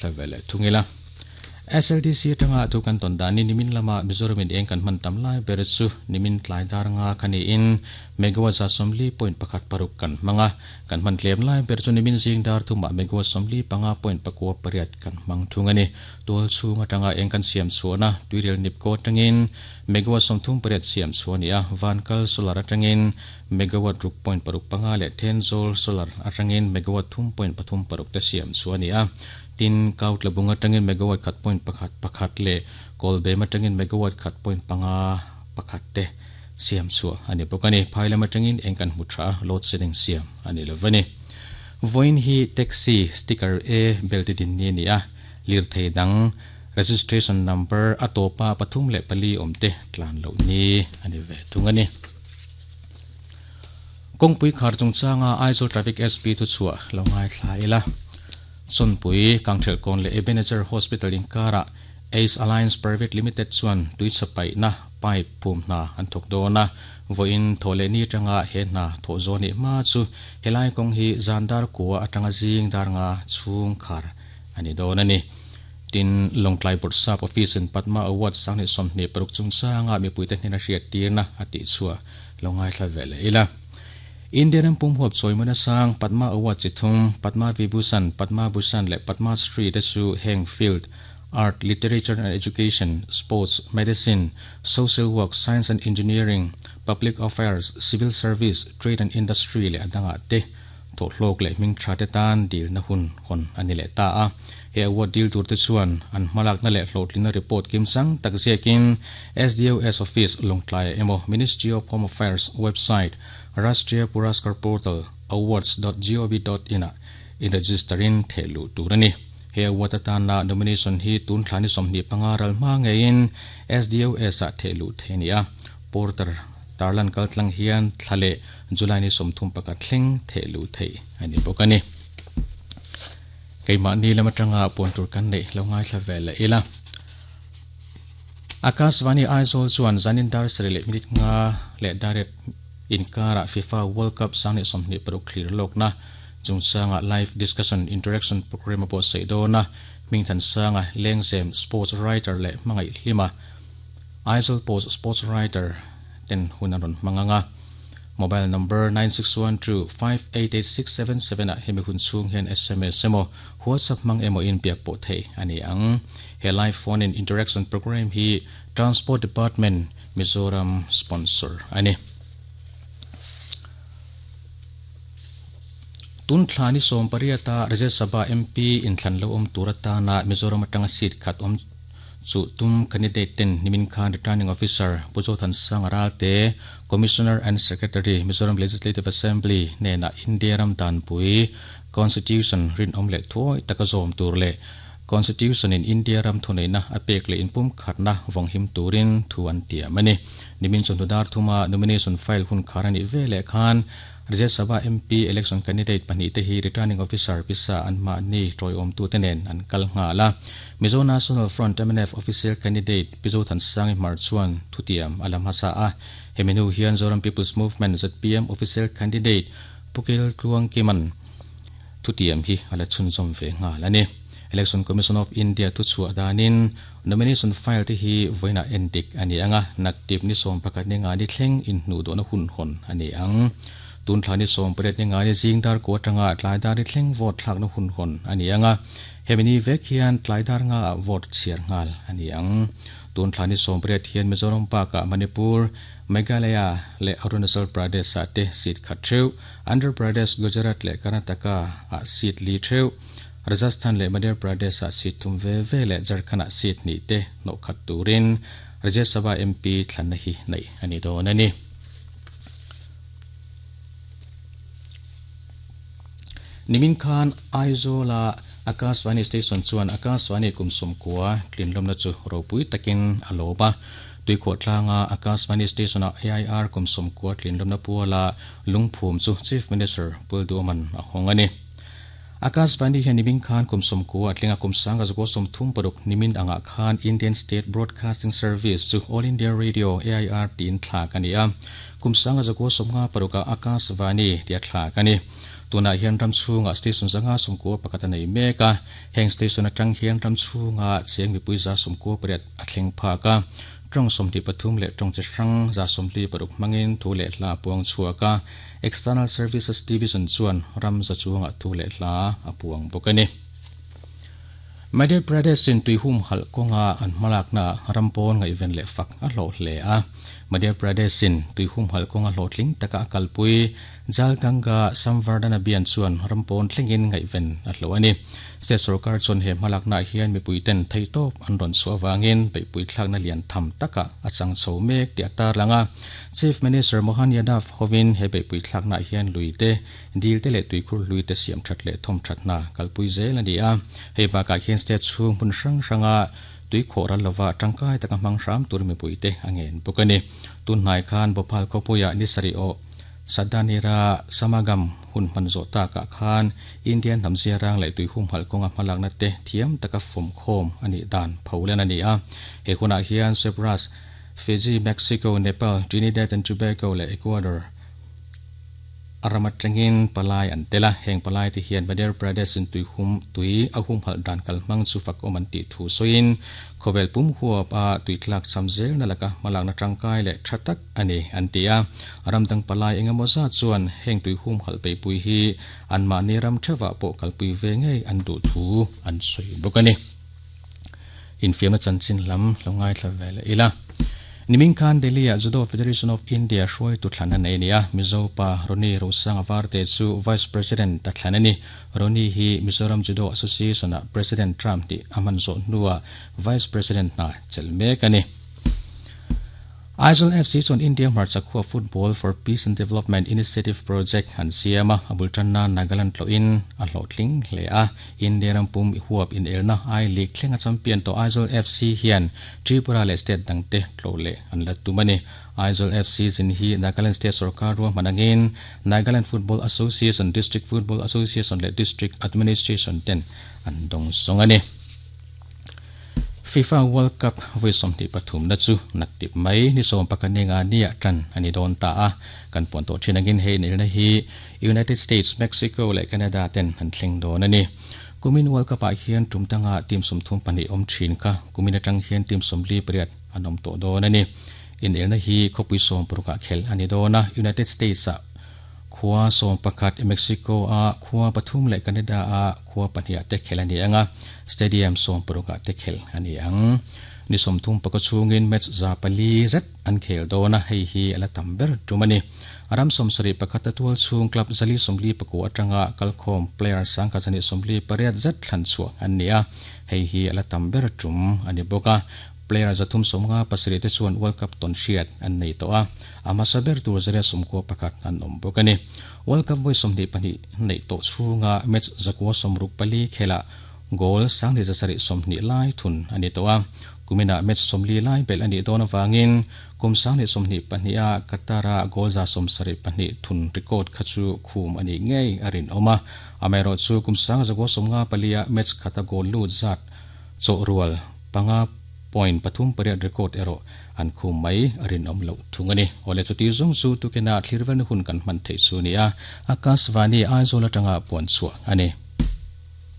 Thla ve leh thung ila. SLDC atanga thu kan tawn danin nimin lama Mizoramin eng kan hman tam lai ber chu nimin tlai dar nga kha niin megawatt 40.16 kan hmang a. Kan hman tlem lai ber chu nimin zing dar thumah megawatt 45.98 kan hmang thung a ni. Tual chhung atanga eng kan siam chhuahna tuirial nipko atangin megawatt 38 siam chhuah a ni a, Vankal solar atangin megawatt 6.65 leh Thenzawl solar atangin megawatt 3.36 te siam chhuah a ni a. Tin, Kautlabung atangin megawatt 1.11 leh Kawlbem atangin megawatt 1.51 te siam chhuah a ni bawk a ni. Phai lam atangin eng kan hmu tha a, load shedding siam a ni lo va ni. Vawiin hi taxi sticker A bel ti din ni a ni a, lirthei dang registration number a tawpa 3 leh 4 awm te tlan loh ni a ni ve thung a ni. Kawngpui khar chungchanga Aizawl Traffic SP thuchhuah lo ngaithla ila. Chawnpui, Kangthelhkawn leh Ebenezer Hospital inkarah Ace Alliance Private Limited chuan tuichhe paihna pipe phum hna an thawk dawn a, vawiin thawh leh ni atanga he hna thawh zawh nih hma chu helai kawng hi zan dar kua atanga zing dar nga chhung khar a ni dawn a ni. Tin, Lawngtlai Bawrhsap Office in Padma Award 2026 chungchanga mipuite hnena hriattirna a tihchhuah lo ngaithla ve leh ila. India ram pum huap chawimawina sang Padma Award chi thum, Padma Vibhushan, Padma Bhushan leh Padma Shri te chu heng field, Art, Literature and Education, Sports, Medicine, Social Work, Science and Engineering, Public Affairs, Civil Service, Trade and Industry leh a dangah te thawhhlawk leh hming tha te tan dilna hun hawn a ni leh ta a. He award dil tur te chuan an hmalakna leh hlawhtlinna report kimchang tak ziakin SDOS Office Lawngtlai emaw Ministry of Home Affairs website Rashtriya Puraskar Portal awards.gov.in ah in-register-in theh luh tur a ni. He award atana nomination hi tun thla ni 25 ral hma ngeiin SDOS ah theh luh theih a ni a. Porter tarlan kal tlang hian thla leh July ni 31 thleng theh luh theih a ni bawk a ni. Keimahni lam atanga puan tur kan neih lo ngaithla ve leh ila. Akashvani Aizawl chuan zanin dar sarih leh minute nga leh dar inkarah FIFA World Cup 2026 thlir lawkna chungchanga live discussion interaction programme a buatsaih dawn a, Hmingthansanga Lengzem sports writer leh Hmangaih Hlima Aizawl Post sports writer ten hun an rawn hmang ang a. Mobile number 9612588677 ah hemi hun chhung hian sms emaw WhatsApp hmang emaw in biak pawh theih a ni ang. He live phone in interaction programme hi Transport Department, Mizoram sponsor a ni. Tun thla ni 18 a Rajya Sabha MP inthlan lo awm tur atana Mizoram atanga seat khat awm Chu tum candidate ten nimin khan Returning Officer Pu Zothansanga Ralte, Commissioner and Secretary, Mizoram Legislative Assembly hnenah India ram danpui, Constitution, rinawm leh thuawi taka zawm tur leh Constitution in India ram thuneihna a pek leh inpumkhatna vawnghim turin thu an tiam a ni. Nimin chawhnu dar thuma nomination file hun khar a nih veleh khan Rajya Sabha MP election candidate pahnihte hi Returning Officer pisa anmahni tawiawmtute nen an kal nghal a. Mizo National Front, mnf, official candidate Pi Zothansangi Hmar chuan thutiam a la hmasa a. Hemi hnu hian Zoram People's Movement, zpm, official candidate Pu Kel Tluangkima'n thutiam hi a la chhunzawm ve nghal a ni. Election Commission of India thuchhuah danin nomination file te hi vawiinah endik a ni ang a, naktip ni 11 ni nga ni thleng inhnuhdawhna hun hawn a ni ang. Tun thla ni 18 ni nga ni zing dar kua atanga tlai dar ni thleng vote thlakna hun hawn a ni ang a, hemi ni vek hian tlai dar nga ah vote chhiar nghal a ni ang. Tun thla ni 18 hian Mizoram bakah Manipur, Meghalaya leh Arunachal Pradesh ah te seat khat theuh, Andhra Pradesh, Gujarat leh Karnataka ah seat li theuh, Rajasthan leh Madhya Pradesh ah seat thum ve ve leh Jharkhand ah seat hnih te hnawh khat turin Rajya Sabha MP thlanna hi neih a ni dawn a ni. Nimin khan Aizawl a Akashvani Station chuan Akashvani kum 90 tlinlawmna chu ropui takin a lawm a. Tuikhuah tlanga Akashvani Station ah AIR kum 90 tlinlawmna puala lungphum chu Chief Minister Pulduoman a hawng a ni. Akashvani hian nimin khan kum 90 a tling a, kum 1936 nimin angah khan Indian State Broadcasting Service chu All India Radio, AIR, tiin thlak a ni a. Kum 1956 ah Akashvani tia thlak a ni. Tunah hian ram chhungah station 591 a nei mek a, heng station atang hian ram chhunga cheng mipui 98 a thleng phak a. Tawng 23 leh tawng chi hrang 46 hmangin thu leh hla a puang chhuak a, External Services Division chuan ram za chungah thu leh hla a puang bawk a ni. Madhya Pradesh in tui humhalh kawnga an hmalaknaah ram pawn ngaihven leh fak a hlawh hle a. Madhya Pradesh in tui humhalh kawnga hlawhtling taka a kalpui Jal Ganga Samvardhan Abhiyan chuan ram pawn thlengin ngaihven a hlawh a ni. State sorkar chuan he hmalaknaah hian mipuiten theihtawp an rawn chhuah avangin beihpui thlakna lian tham takah a chang chho mek tih a tarlang a. Chief Minister Mohan Yadav hovin he beihpui thlaknaah hian luite Dil te leh tuikhur hlui te siam that leh thawm that hna kalpui zel a ni a. Hei bakah hian state chhung hmun hrang hranga tui khawh ral lova tangkai taka hmang hram tur mipui te a ngen bawk a ni. Tun hnai khan Bhopal khawpuiah ni sarih awh Sadanira Samagam hun hman zawh takah khan Indian hnam ziarang leh tui humhalh kawnga hmalakna te thiam taka fawmkhawm a nih dan pholen a ni a. He hunah hian Cyprus, Fiji, Mexico, Nepal, Trinidad and Tobago leh Ecuador, A ram atangin palai an tel a, heng palai te hian Madhya Pradesh in tui hum tui a humhalh dan kalhmang chu fakawm an tih thu sawiin khawvel pum huap a tui tlak cham zelna laka hmalakna tangkai leh tha tak a ni an ti a. Ram dang palai engemaw zat chuan heng tui humhalh beihpui hi anmahni ram theuhah pawh kalpui ve ngei an duh thu an sawi bawk a ni. Infiamna chanchin lam lo ngaithla ve leh ila. Nimin khan Delhi-ah Judo Federation of India hruaitu thlan a nei a ni a, Mizo pa Ronnie Rosanga Varte chu Vice President a thlan a ni. Ronnie hi Mizoram Judo Association-ah President term hnih a hman zawh hnuah Vice President hna chelh mek a ni. Aizawl FC chuan India hmarcha khua Football for Peace and Development Initiative Project an siam a, a bul tanna Nagaland tlawhin a hlawhtling hle a. India ram pum i huap inelna I League thlenga champion tawh Aizawl FC hian Tripura leh state dangte tlawh leh an la tum a ni. Aizawl FC zin hi Nagaland State sorkar ruahman angin Nagaland Football Association, District Football Association leh District Administration ten an dawngsawng a ni. Fifa World Cup vawi 23 na chu naktip mai ni 11 ni nga nia tan a ni dawn ta a. Kan puan tawh thin angin hei inelna hi United States, Mexico leh Canada ten an thleng dawn a ni. Kumin World Cup ah hian tum danga team 32 awm thin kha kumin atang hian team 48 an awm tawh dawn a ni. Inelna hi khawpui 60 ah khelh a ni dawn a, United States ah Khua 11, Mexico a khua pathum leh Canada a khua pahnih ah te khelh a ni ang a, stadium 60 ah te khelh a ni ang. Ni 30 chhungin match 400 zet an khel dawn a, hei hi a la tam ber tum a ni. Ram 71 a tual chhung club 449 atanga kalkhawm player 1128 zet thlan chhuah an ni a, hei hi a la tam ber tum a ni bawk a. Player 357 te chuan World Cup tawn hriat an nei tawh a, a hmasa ber tur 191 an awm bawk a ni. World Cup vawi 22 neih tawh chhunga match 964 khelah goal 2720 lai thun a ni tawh a, kuminah match 40 lai belh a nih dawn avangin kum 2022 a Qatar-a goal 72 thun record kha chu khum a nih ngei a rinawm a. Amaherawhchu kum 1954 a match khata goal lut zat chawhrual panga point pathum pariat record erawh an khum mai a rinawm loh thung a ni. Awle chuti zawng chu tukina thlir velna hun kan hman theih chu a ni a, Akashvani Aizawl atanga puan chhuah a ni.